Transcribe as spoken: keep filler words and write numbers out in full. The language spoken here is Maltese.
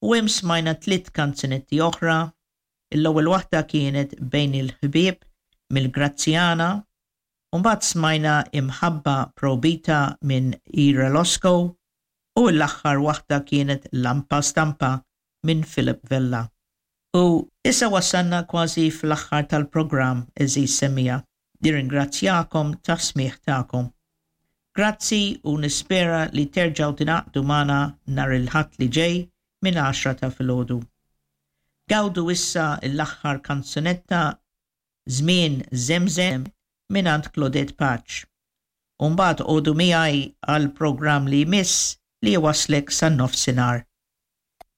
U hemm smajna tliet kanzunetti oħra. L-ewwel waħda kienet Bejn il-Ħbieb mill-Grazzjana, u mbagħad smajna Imħabba Projbita minn Ira Losco, u l-aħħar waħda kienet Lampa Stampa minn Philip Vella. U issa wasalna kważi fl-aħħar tal-programm, għeżież semmiegħa. Nirringrazzjakom tas-smigħ tagħkom. Grazzi u nispera li terġgħu tingħaqdu magħna nhar il-Ħadd li ġej minn għaxra ta' filgħodu. Gawdu issa l-aħħar kanzunetta, Żmien Żemżem mingħand Claudette Pace. Umbagħad għodu miegħi għal programm li jmiss li jwasslek sa nofsinhar.